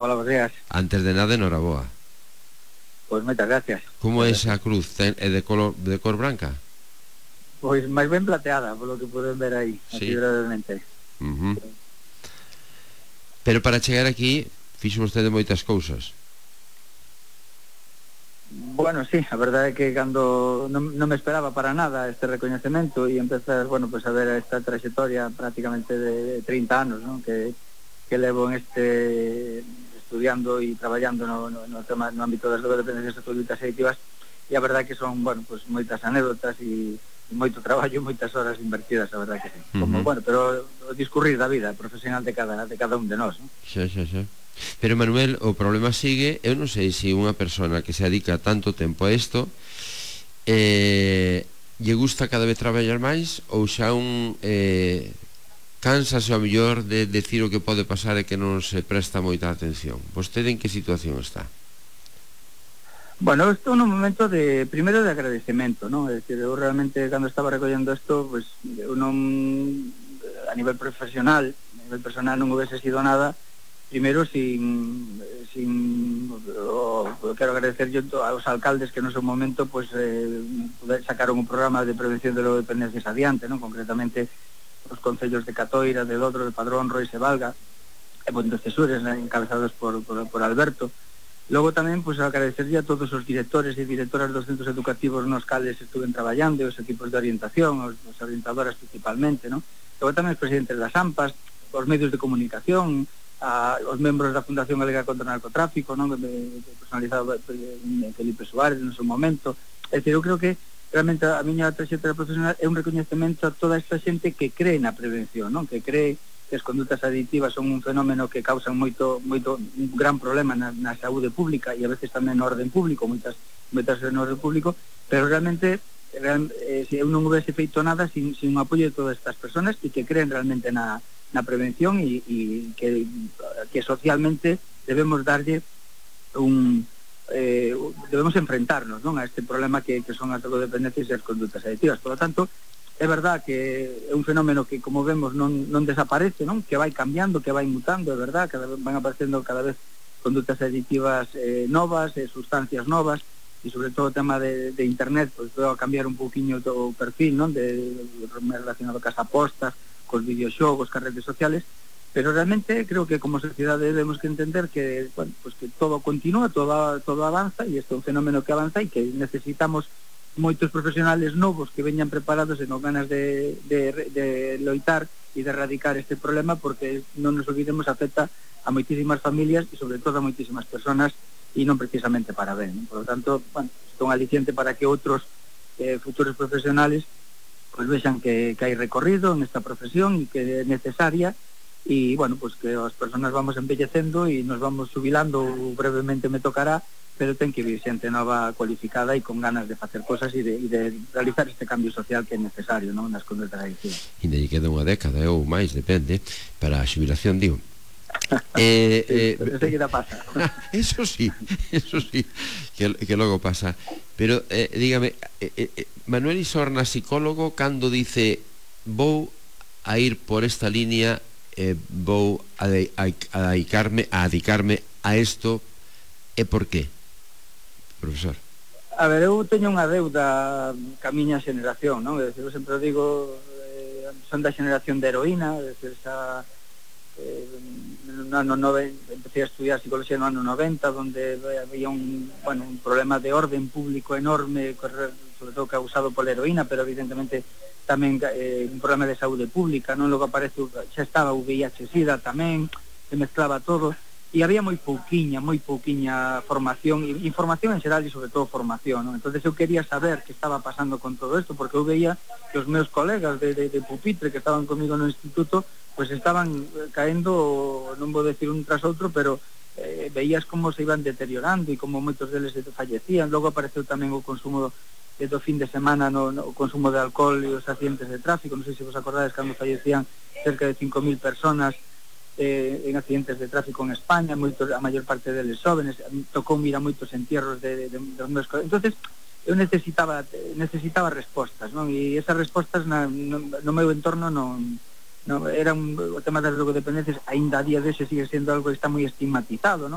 Hola, buenos días. Antes de nada, enhoraboa. Pois moitas gracias. Como é Moitas esa gracias. cruz? É de cor branca? Pois máis ben plateada, polo que poden ver aí, así Sí. brevemente. Ujú. Pero para chegar aquí fixo vostede moitas cousas. Bueno, sí, a verdade é que cando non me esperaba para nada este recoñecemento e empezar, bueno, pues a ver esta trayectoria prácticamente de 30 anos, ¿no? que levo en este estudiando e traballando no tema, no ámbito das dependencias públicas e activas, e a verdade que son, bueno, pues moitas anécdotas e moito traballo, moitas horas invertidas, a verdade que sí. Como, Ujú. bueno, pero o discurrir da vida profesional de cada un de nós, ¿no? Xa, xa, xa. Pero Manuel, o problema sigue. Eu non sei se unha persona que se dedica tanto tempo a isto lle gusta cada vez traballar máis, ou xa cánsase ao mellor de decir o que pode pasar e que non se presta moita atención. Vostede en que situación está? Bueno, eu estou nun momento primeiro de agradecemento, ¿no? É dicir, eu realmente cando estaba recollendo isto, pues eu non, a nivel profesional, a nivel personal non houvese sido nada, primeiro quero agradecer yo aos alcaldes que no seu momento pues sacaron un programa de prevención de drogodependencias adiante, ¿no? Concretamente os concellos de Catoira, de Dodro, de Padrón, Rois e Valga, e Pontecesures, encabezados por Alberto. Logo tamén, pois, agradecerlle a todos os directores e directoras dos centros educativos nos cales estuven traballando, os equipos de orientación, os orientadoras principalmente, non? Logo tamén os presidentes das AMPAs, os medios de comunicación, os membros da Fundación Galega contra o Narcotráfico, non? Personalizado Felipe Suárez no seu momento. É dicir, eu creo que realmente a miña trayectoria profesional é un recoñecemento a toda esta xente que cree na prevención, non? Que cree que as condutas adictivas son un fenómeno que causan un gran problema na saúde pública e a veces tamén no orden público, moitas no orden público, pero realmente se eu non houvese feito nada sin un apoio de todas estas personas e que creen realmente na prevención e que socialmente debemos darlle debemos enfrentarnos, non, a este problema que son as drogodependencias e as condutas adictivas. Por lo tanto, é verdad que é un fenómeno que, como vemos, non desaparece, non? Que vai cambiando, que vai mutando, é verdad, van aparecendo cada vez condutas adictivas novas, sustancias novas, e sobre todo o tema de internet, pois veo a cambiar un pouquiño o perfil, non? Relacionado cas apostas, cos videoxogos, cas redes sociales, pero realmente creo que como sociedade debemos que entender que, bueno, pues que todo continúa, todo avanza, e isto é un fenómeno que avanza e que necesitamos moitos profesionales novos que veñan preparados e con ganas de loitar e de erradicar este problema, porque non nos olvidemos, afecta a moitísimas familias e sobre todo a moitísimas personas e non precisamente para ben, non? Por lo tanto, bueno, isto é un aliciente para que outros futuros profesionales pues vexan que hai recorrido nesta profesión e que é necesaria e, bueno, pues que as personas vamos envellecendo e nos vamos jubilando, brevemente me tocará, pero ten que vir xente nova cualificada e con ganas de facer cosas e de realizar este cambio social que é necesario, non, nas condutas adictivas. Ainda lle queda unha década ou máis, depende, para a xubilación, digo. Pero enseguida pasa. Eso sí, que logo pasa. Pero dígame, Manuel Isorna, psicólogo, cando dice vou a ir por esta línea, vou a dedicarme a isto, é por qué, profesor? A ver, eu teño unha deuda ca miña xeneración, non? Eu sempre digo, son da xeneración de heroína, no ano 90, empecé a estudiar psicología no ano 90, donde había un problema de orden público enorme, sobre todo causado pola heroína, pero evidentemente tamén un problema de saúde pública, non? Logo aparece, xa estaba o VIH-Sida tamén, se mezclaba todo, e había moi pouquiña formación, información en xeral e sobre todo formación, non? Entonces eu quería saber que estaba pasando con todo isto, porque eu veía que os meus colegas de pupitre que estaban comigo no instituto, pues estaban caendo, non vou decir un tras outro, pero veías como se iban deteriorando e como moitos deles fallecían. Logo apareceu tamén o consumo do fin de semana, o consumo de alcohol e os accidentes de tráfico. Non sei se vos acordades cando fallecían cerca de 5.000 personas en accidentes de tráfico en España, a maior parte deles jóvenes. Tocou mirar moitos entierros dos meus colegas. Entonces eu necesitaba respostas, non? E esas respostas no meu entorno non no, o tema das drogodependencias aínda a día dese sigue sendo algo que está moi estigmatizado, non?